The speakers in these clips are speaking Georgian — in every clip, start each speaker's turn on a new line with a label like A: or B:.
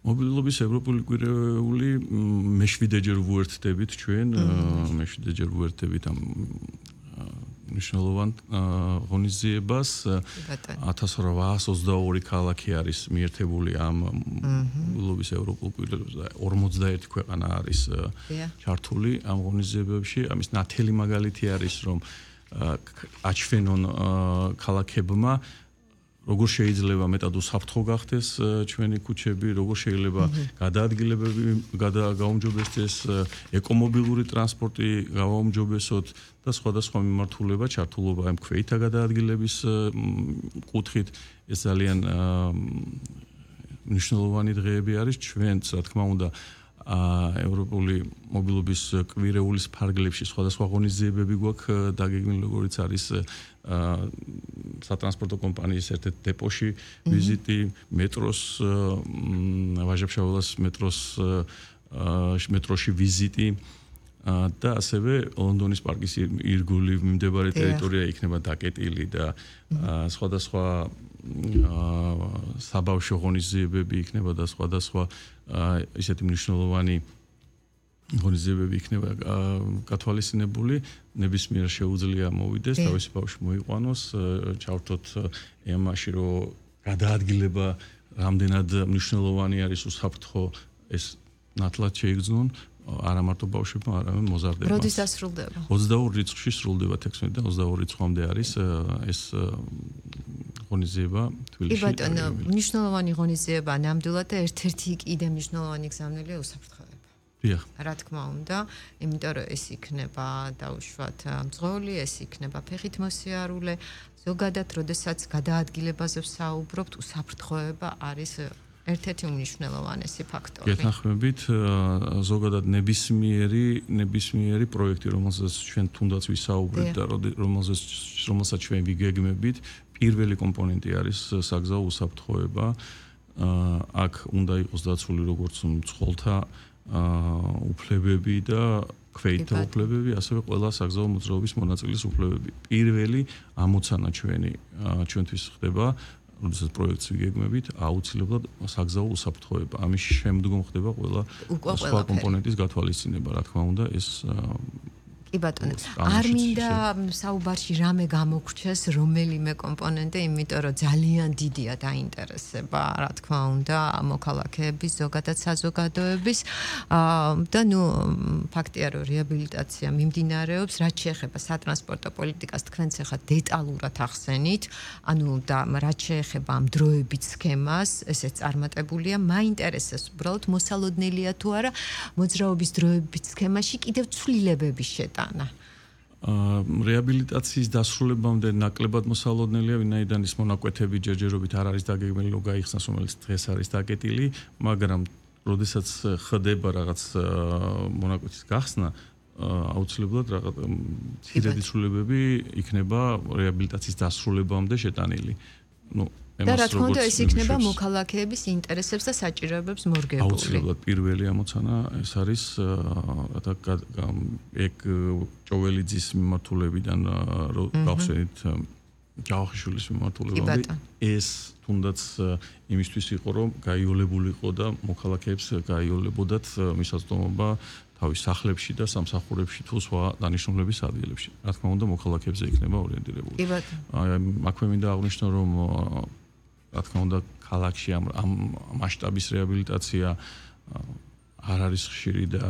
A: მობილობის ევროპული კვირეული მეშვიდეჯერ ვუერთდებით ჩვენ, მეშვიდეჯერ ვუერთდებით ამ მნიშვნელოვან ღონისძიებას 1822 ქალაქი არის მიერთებული ამ მობილობის ევროპულ კვირველებზე და 51 ქვეყანა არის ჩართული ამ ღონისძიებებში. ამის ნათელი მაგალითი არის რომ აჩვენონ ქალაქებმა როგორ შეიძლება მეტად უსაფრთხო გახდეს ჩვენი ქუჩები, როგორ შეიძლება გადაადგილებები გაუმჯობესდეს, ეკომობილური ტრანსპორტი გავაუმჯობესოთ და სხვადასხვა მიმართულება ჩართულობა ამ ქვეითა გადაადგილების კუთხით. ეს ძალიან მნიშვნელოვანი დღეები არის ჩვენც, რა თქმა უნდა, ევროპული მობილობის კვირეულის ფარგლებში სხვადასხვა ღონისძიებები გვაქვს დაგეგმილი, როგორიც არის სატრანსპორტო კომპანიის ერთ-ერთ დეპოში ვიზიტი, მეტროს ვაჟა-ფშაველას მეტროში ვიზიტი და ასევე ლონდონის პარკის ირგული მიმდებარე ტერიტორია იქნება დაკეტილი და სხვადასხვა საბავშვო ღონისძიებები იქნება და სხვადასხვა ისეთი მნიშვნელოვანი ღონისძიებები იქნება გათვალისწინებული. ნებისმიერ შეუძლია მოვიდეს, თავისი ბავშვი მოიყვანოს, ჩავთოთ ემაში, რომ გადაადგილება რამდენად მნიშვნელოვანი არის უსაფრთხო, ეს ნათლად შეიგრძნონ არა მარტო ბავშვებმა, არამედ მოზარდებმა.
B: როდის დასრულდება?
A: 22 რიცხვში სრულდება 16 და 22 რიცხვამდე არის ეს ღონისძიება თბილისში.
B: კი ბატონო, მნიშვნელოვანი ღონისძიება ნამდვილად და ერთ-ერთი კიდე მნიშვნელოვანი გზავნილია უსაფრთხოება.
A: დიახ.
B: რა თქმა უნდა, იმიტომ რომ ეს იქნება დაუშვათ მძღოლი, ეს იქნება ფეხით მოსიარულე, ზოგადად, როდესაც გადაადგილებაზე ვსაუბრობთ, უსაფრთხოება არის ერთ-ერთი უმნიშვნელოვანესი ფაქტორი.
A: გეთანხმებით, ზოგადად ნებისმიერი პროექტი, რომელსაც ჩვენ თუნდაც ვისაუბრებთ და რომელსაც ჩვენ ვიგეგმებით, პირველი კომპონენტი არის საგზაო უსაფრთხოება. აქ უნდა იყოს დაცული როგორც მძღოლთა უფლებები და ქვეითთა უფლებები, ასევე ყველა საგზაო მოძრაობის მონაწილის უფლებები. პირველი ამოცანა ჩვენთვის ხდება, როდესაც პროექტს ვიგეგმებით, აუცილებლად საგზაო უსაფრთხოება. ამის შემდგომ ხდება ყველა სხვა კომპონენტის გათვალისწინება, რა თქმა უნდა, ეს
B: კი ბატონო, არ მინდა საუბარში რამე გამოგრჩეს რომელიმე კომპონენტი, იმიტომ რომ ძალიან დიდია დაინტერესება, რა თქმა უნდა, მოქალაქეების, ზოგადად საზოგადოების და ფაქტია, რომ რეაბილიტაცია მიმდინარეობს, რაც შეეხება სატრანსპორტო პოლიტიკას, თქვენც ახლა დეტალურად ახსენით, და რაც შეეხება ამ დროებით სქემას, ესეც წარმატებულია, მაინტერესებს უბრალოდ მოსალოდნელია თუ არა მოძრაობის დროებით სქემაში კიდევ ცვლილებების შეტანა.
A: რეაბილიტაციის დასრულებამდე ნაკლებად მოსალოდნელია, ვინაიდან ის მონაკვეთები ჯერჯერობით არ არის დაგეგმილი, რომ გაიხსნას, რომელიც დღეს არის დაკეტილი, მაგრამ როდესაც ხდება რაღაც მონაკვეთის გახსნა, აუცილებლად რაღაც ცირედი ცვლილებები იქნება რეაბილიტაციის დასრულებამდე შეტანილი.
B: და რა თქმა უნდა ეს იქნება მოქალაქეების ინტერესებს და საჭიროებებს მორგებული.
A: აუცილებლად პირველი ამოცანა ეს არის ეგ ჭოველიძის მიმართულებიდან გავხსენით ჯავახიშვილის მიმართულებამდე ეს თუნდაც იმისთვის იყო რომ გაიოლებულიყო და მოქალაქეებს გაიოლებოდათ მისაწვდომობა თავის სახლებში და სამსახურებში თუ სხვა დანიშნულების ადგილებში. რა თქმა უნდა მოქალაქეებზე იქნება ორიენტირებული. აქვე მინდა აღვნიშნო რომ რა თქმა უნდა ქალაქში ამ მასშტაბის რეაბილიტაცია არ არის ხშირი და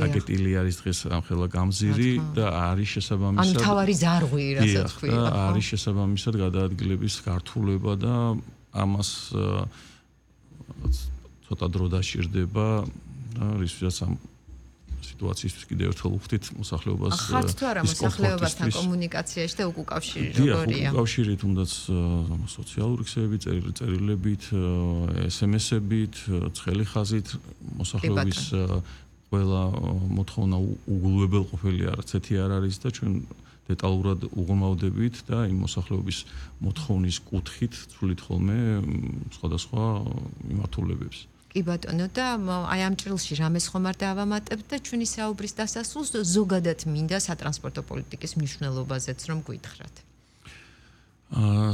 A: დაკეტილი არის დღეს ამხელა გამზირი და არის შესაბამისად
B: ანუ თავარი ზარღვი რასაც ქვია
A: და არის შესაბამისად გადაადგილების გართულება და ამას ცოტა დრო დაჭირდება და რისთვისაც ამ სიტუაციისთვის კიდევ ერთხელ ვხვდით მოსახლეობას
B: ხართ თუ არა მოსახლეობასთან კომუნიკაციაში და უკავშირი როგორია?
A: უკავშირი თუნდაც სოციალური ქსელებით, წერილებით, SMS-ებით, ცხელი ხაზით მოსახლეობის ყველა მოთხოვნა უგულებელყოფილი არც ერთი არ არის და ჩვენ დეტალურად უღრმავდებით და იმ მოსახლეობის მოთხოვნის კუთხით ცვლით ხოლმე სხვადასხვა მიმართულებებს.
B: კი ბატონო და აი ამ ჭრილში რამეს ხომ არ დავამატებთ და ჩვენი საუბრის დასასრულს ზოგადად მინდა სატრანსპორტო პოლიტიკის მნიშვნელობაზეც რომ გითხრათ.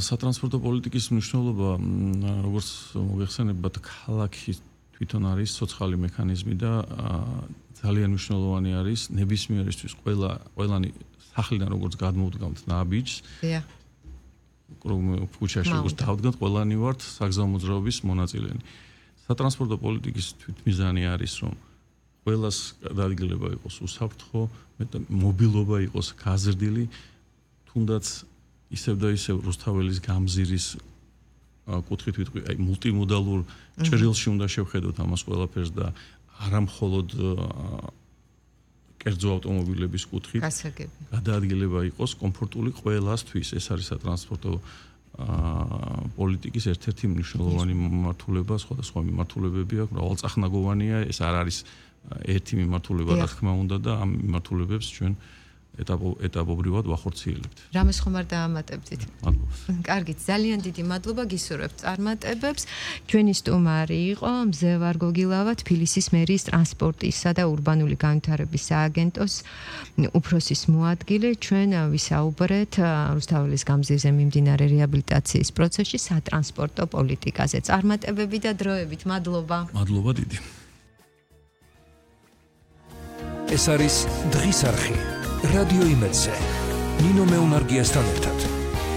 A: სატრანსპორტო პოლიტიკის მნიშვნელობა როგორც მოგეხსენებათ ქალაქის თვითონ არის სოციალური მექანიზმი და ძალიან მნიშვნელოვანი არის ნებისმიერისთვის ყველანი სახლიდან როგორც გადმოვდგამთ ნაბიჯს ქუჩაში როგორც დავდგათ ყველანი ვართ საგზაო მოძრაობის მონაწილენი. სატრანსპორტო პოლიტიკის თვითმიზანი არის რომ ყველას გადაადგილება იყოს უსაფრთხო, მობილობა იყოს გაზრდილი, თუნდაც ისევ და ისევ რუსთაველის გამზირის კუთხით ვიტყვი, აი მულტიმოდალურ ჭრილში უნდა შევხედოთ ამას ყველაფერს და არა მხოლოდ კერძო ავტომობილების კუთხით გადაადგილება იყოს კომფორტული ყველასთვის. ეს არის სატრანსპორტო პოლიტიკის ერთ-ერთი მნიშვნელოვანი მიმართულება, სხვადასხვა მიმართულებები აქვს, მრავალწახნაგოვანია, ეს არ არის ერთი მიმართულება, რა თქმა უნდა და ამ მიმართულებებს ჩვენ ეტაპობრივად ვახორციელებთ.
B: რამეს ხომ არ დაამატებდით? მადლობა. კარგით, ძალიან დიდი მადლობა გისურვებთ წარმატებებს. ჩვენი სტუმარი იყო მზევარ გოგილავა, თბილისის მერიის ტრანსპორტისა და ურბანული განვითარების სააგენტოს უფროსის მოადგილე. ჩვენ ვისაუბრეთ რუსთაველის გამზირზე მიმდინარე რეაბილიტაციის პროცესში სატრანსპორტო პოლიტიკაზე. წარმატებები და დროებით. მადლობა.
A: მადლობა დიდი.
C: ეს არის დღის არხი. რადიო იმედზე. ნინო მეუნარგიასთან ერთად.